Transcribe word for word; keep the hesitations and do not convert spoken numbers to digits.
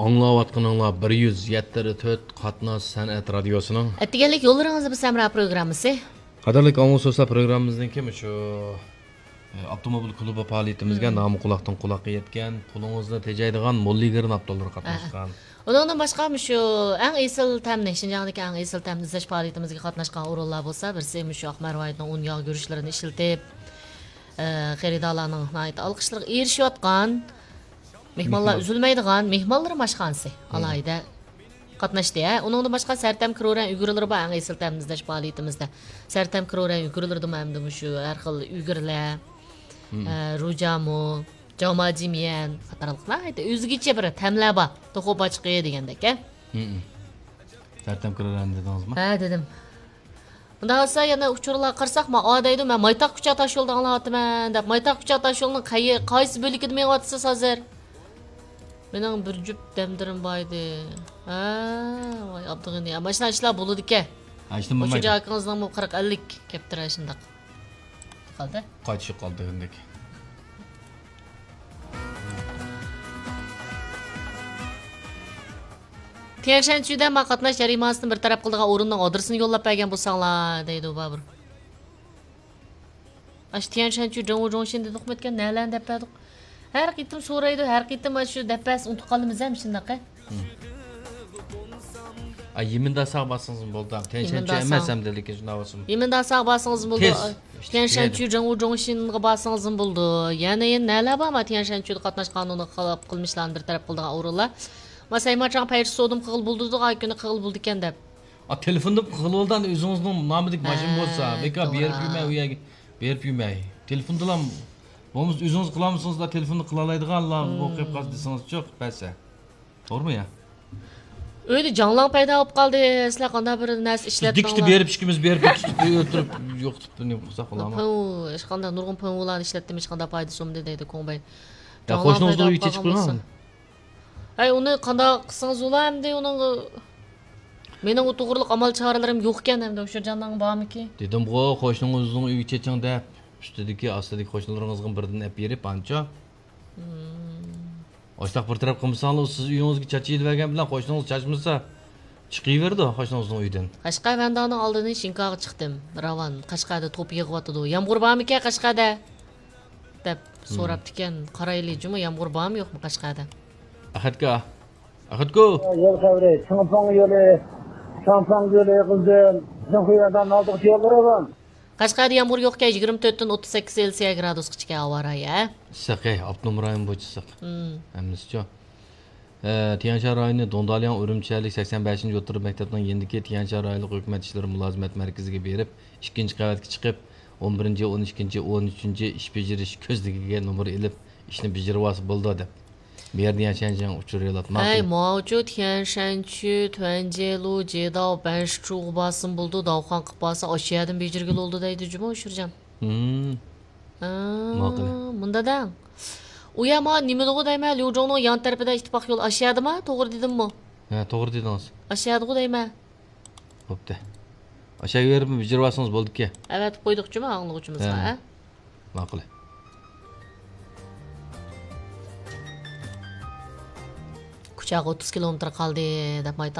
ئاڭلاۋاتقىنىڭلار بىر يۈز يەتتە تۆت قاتناش سەنئەت رادىيوسىنىڭ ئەتىگەنلىك يوللىرىڭىزدا بىز ھەمراھ پروگراممىسى. قەدىرلىك ئاڭلىغۇچى دوستلار، پروگراممىمىزنىڭكى مۇشۇ، ئە، ئاپتوموبىل كۇلۇبى پائالىيىتىمىزگە نامى قۇلاقتىن قۇلاققا يەتكەن، پۇلىڭىزنى تېجەيدىغان موللىگىرىن ئاپتورلىرى قاتناشقان. ئۇنىڭدىن باشقا مۇشۇ ئەڭ ئېسىل تەمنى، شىنجاڭدىكى ئەڭ ئېسىل تەمنى ئىزدەش پائالىيىتىمىزگە قاتناشقان ئورۇنلار بولسا، بىرسى مۇشۇ ئاقمەر ۋاھىتنىڭ ئۇن ياغ گۈرۈچلىرىنى ئىشلىتىپ، ئە، خېرىدارلارنىڭ ناھايىتى ئالقىشلىرىغا ئېرىشىۋاتقان، مېھمانلار مېھمان. ئۈزۈلمەيدىغان مېھمانلىرىم ئاشخانىسى ئالاھىدە قاتناشتى. ھە، ئۇنىڭدىن باشقا سەرتەم كرورەن ئۈگرىلىرى بار ئەڭ ئېسىل تەمنى ئىزدەش پائالىيىتىمىزدە. سەرتەم كرورەن ئۈگرىلىرىدىمۇ ئەمدى مۇشۇ ھەر خىل ئۈگرىلەر، ئە، روجامۇ، جاۋماجىميەن قاتارلىق ناھايىتى ئۆزگىچە بىر تەملەر بار. توخۇ باچقى دېگەندەك، ھە؟ سەرتەم كرورەن دېدىڭىزمۇ؟ ھە، دېدىم. مۇنداق بولسا يەنە ئۇچۇرلارغا قارىساق، ما ئا دەيدۇ، مەن مايتاق كۇچا تاشيولىدا ئاڭلاۋاتىمەن دەپ. مايتاق كۇچا تاشيولىنىڭ قەي-، قايسى بۆلىكىدە مېڭىۋاتىسىز ھازىر؟ مېنىڭ بىر جۈپ دەمدىرىم بار ئىدى. ھە، ۋاي ئابدۇغېنى. مانا شۇنداق ئىشلار بولىدىكەن. ھە، ئىشتىن بولمايدۇ. شۇ ئاكىڭىزنىڭمۇ قىرىق ئەللىك كەپتىرە شۇنداق. قالدى. قايتىشىپ قالدى ھەمدەك. تيەنشەنچۈدە ما قاتناش جەرىمانىسىنى بىر تەرەپ قىلىدىغان ئورۇننىڭ ئادرېسىنى يوللاپ بەرگەن بولساڭلار، دەيدۇ بابۇر. ئاشۇ تيەنشەنچۈ جوڭۋۇ جوڭشىن دېدۇقمۇ ئۆتكەن، نەلەرنى دەپ بەردۇق؟ ھەر قېتىم سورايدۇ، ھەر قېتىم ئاشۇ دەپ بەرسە ئۇنتۇپ قالىمىز ھەم شۇنداق ھە. ئا، يىمىنداساغا بارسىڭىزمۇ بولىدۇ. تيەنشەنچۈ ئەمەس ئەمدى، لېكىن شۇنداق بولسىمۇ. يىمىنداساغا بارسىڭىزمۇ بولىدۇ. تېز. تيەنشەنچۈ جوڭۋۇ جوڭشىنغا بارسىڭىزمۇ بولىدۇ. يەنە، يەنە نەلەر بار ما تيەنشەنچۈدە قاتناشقان ئۇنداق خىلاپ قىلمىشلارنى بىر تەرەپ قىلىدىغان ئورۇنلار؟ ما سەيمانچاڭ پەيرىسودىمۇ قىلغىلى بولىدۇ، ئاي كۈنى قىلغىلى بولىدىكەن دەپ. ئا، تېلېفوندا قىلغىلى بولىدۇ، ئۆزىڭىزنىڭ نامىدىكى ماشىنا بولسا، ھە، بىكار بېرىپ يۈرمەي، ئۇ يەرگە بېرىپ يۈرمەي. تېلېفوندىلا بولمىسا، ئۆزىڭىز قىلالمىسىڭىزلا، تېلېفوندا قىلالايدىغانلار بولۇپ قېلىپ قالسا دېسىڭىز چوق بەرسە. توغرىمۇ يا؟ ئۆيدە جاڭلاڭ پەيدا بولۇپ قالدى. سىلەر قانداق بىر نەرسە ئىشلەتتىڭلار؟ دىككىتى بېرىپ ئىككىمىز بېرىپ تۇتۇپ ئۆلتۈرۈپ يوقىتىپ نېمە قىلساق بولامۇ؟ پىڭۋۇ، ھېچقانداق نۇرغۇن پىڭۋۇلارنى ئىشلەتتىم، ھېچقانداق پايدىسى بولمىدى دەيدۇ كوڭبەي. يا، جاڭلاڭ قوشنىڭىزنىڭ پەيدا ئۆيىگە بولۇپ چېچىپ قالغان قويۇڭ. بولسا. ھەي، ئۇنى قانداق قىلسىڭىز بولا ئەمدى ئۇنىڭغا؟ مېنىڭ ئۇ توغرىلىق ئامال چارىلىرىم يوقكەن ئەمدى، ئۇشۇرجاننىڭ بارمىكى؟ دېدىمغۇ، قوشنىڭىزنىڭ ئۆيىگە چېچىڭ دەپ، ئۈستىدىكى، ئاستىدىكى قوشنىلىرىڭىزغا بىردىن ئەپ بېرىپ، ئانچە. ئاشتاق بىر تەرەپ قىلمىساڭلار، سىز ئۆيىڭىزگە چاچىۋېتىۋەرگەن بىلەن قوشنىڭىز چاچمىسا، چىقىۋېرىدۇ قوشنىڭىزنىڭ ئۆيىدىن. قەشقەر ۋەندانىڭ ئالدىدىن شىنكاغا چىقتىم. راۋان، قەشقەردە توپا يېغىۋاتىدۇ. يامغۇر بارمىكەن قەشقەردە؟ دەپ سوراپتىكەن. قارايلى جۇمۇ، يامغۇر بارمۇ يوقمۇ قەشقەردە؟ ئەخەتكا. ئەخەتكو. يول خەۋىرى، چىڭفېڭ يولى، چاڭفېڭ يولى يىغىلدىم. بىزنىڭ خۇيەندانىڭ ئالدىغىچە يوللىرى بار. قەشقەردە يامغۇر يوقكەن، يىگىرمە تۆتتىن ئوتتۇز سەككىز سېلسىيە گرادۇسقىچىكەن ھاۋا رايى، ھە؟ ئىسسىق، ھەي، ئاپتونوم رايون بويىچە ئىسسىق. ھەممىسىچۇ. ئە، تيەنشان رايونى دۇڭدالياڭ ئۈرۈمچىلىك سەكسەن بەشىنچى ئوتتۇرا مەكتەپنىڭ يېنىدىكى تيەنشان رايونلۇق ھۆكۈمەت ئىشلىرى مۇلازىمەت مەركىزىگە بېرىپ، ئىككىنچى قەۋەتكە چىقىپ، ئون بىرىنچى، ئون ئىككىنچى، ئون ئۈچىنچى ئىش بېجىرىش كۆزنىكىگە نومۇر ئېلىپ، ئىشنى بېجىرىۋالسا بولىدۇ، دەپ. ميەر ديەنشەنجياڭ ئۇچۇر يولاتما. ھەي، ماۋۇچۇ تيەنشەنچۈ، تۈەنجيېلۇ، جېداۋ، بەنشىچۇغا بارسىمۇ بولىدۇ، داۋخان قىلىپ بارسا، ئاشۇ يەردىن بېجىرگىلى بولىدۇ دەيدۇ جۇمۇ، ئۇچۇرجان. ھىم. ھا، ماقۇل. مۇندا دەڭ. ئۇ يەر ما نېمىدىغۇ دەيمەن، ليۇجۇڭنىڭ يان تەرىپىدە ئىتتىپاق يول ئاشۇ يەردىما؟ توغرا دېدىممۇ؟ ھە، توغرا دېدىڭىز. ئاشۇ يەردىغۇ دەيمەن. بوپتۇ. ئاشۇ يەرگە بېرىپ بېجىرىۋالسىڭىز بولىدىكەن. ئەۋەتىپ قويدۇقچۇما ئاڭلىغۇچىمىزغا، ھە. ھە؟ ماقۇل. كۇچاغا ئوتتۇز كىلومېتىر قالدى دەپ مايتاق